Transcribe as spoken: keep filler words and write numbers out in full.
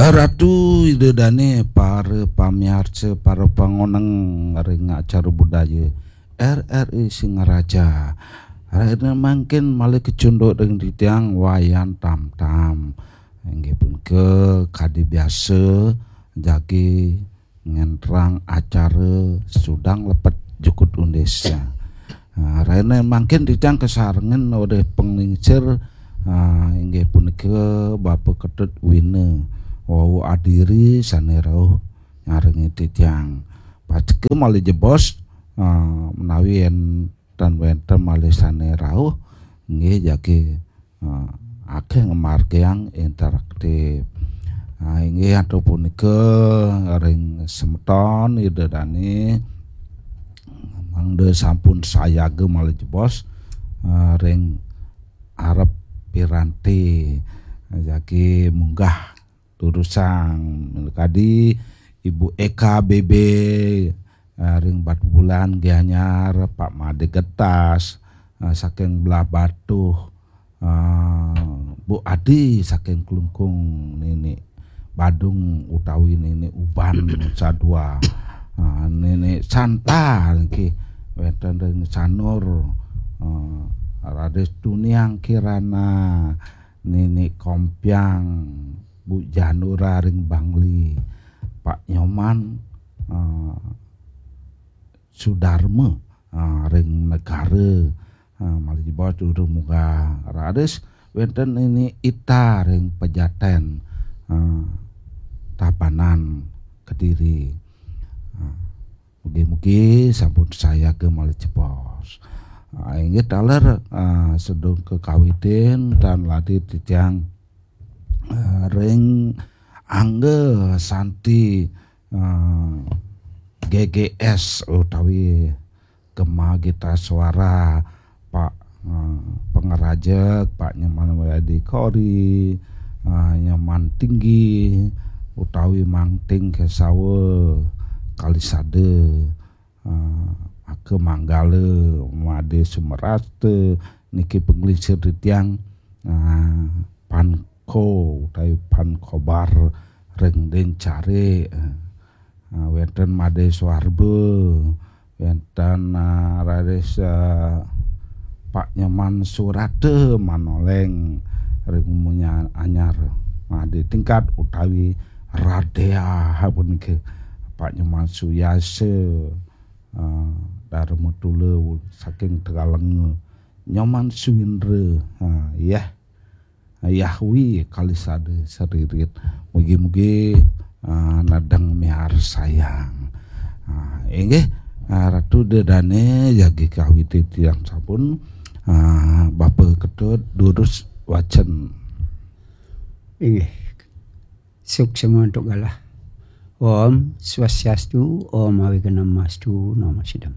Ratu Ida Dane, para pamiarsa, para pangoneng ring acara budaya R R I Singaraja. Rahina mangkin malih kacunduk ring titiang Wayan Tamtam. Inggih punika kadi biasa jagi ngenterang acara sudang lepet jukut undis. Ah, rahina mangkin titiang kasarengin olih panglingsir, ah, inggih punika Bapa Ketut Wina wau adiri sane rauh nyarengin titiang. Pastika malih jebos, ah, menawi enten wenten malih sane rauh, inggih jagi, ah, akeh ngamargiang interaktif. Ah, inggih antuk punika ring semeton Ida Dane mangda sampun sayaga malih jebos, ah, ring arep piranti jagi munggah durusang kadi Ibu Eka B B, ah, ring Batubulan, Gianyar, Pak Made Getas, ah, saking Belah Batuh, ah, Bu Adi saking Klungkung, Nini Badung utawi Nini Uban Sadua, ah, Nini Santa niki wenten ring Sanur, ah, Raden Tuniang Kirana, Nini Kompiang, Bu Janura ring Bangli, Pak Nyoman, ah, Sudarma, ah, ring Negara, ah, malih jebos durung munggah raris wenten Nini Ita ring Pejaten, ah, Tabanan Kediri. Ah, mugi-mugi sampun sayaga malih jebos. Ah, inggih taler, ah, sedung kakawitin tan lati titiang, ah, ring angga santi, ah, G G S utawi Gema Gita Suara, Pak, ah, Pangrajek, Pak Nyoman Wiadi Kori, ah, Nyoman Tinggi, utawi Mangting Kesawa, Kalisada, ah, Aka Manggala, Made Sumerasta, niki panglingsir titiang, ah, Panko utawi Pankobar ring Dencare, ah, wenten Made Suarba, wenten, ah, raris, ah, Pak Nyoman Surata Manoleng ring Umunya Anyar, Made Tingkat utawi Radea punika, Pak Nyoman Suyasa, ah, Dharma Tula saking Tegalenga, Nyoman Suwindra, ah, yah, Yahwi Kalisada Seririt. Mugi-mugi, ah, nedeng miarsayang. Ah, inggih, ah, Ratu Ida Dane jagi kawitin titiang sampun, ah, Bapa Ketut durus wacen. Inggih. Suksema antuk galah. Om Swastiastu, Om Awighnam Astu, Namo Siddham.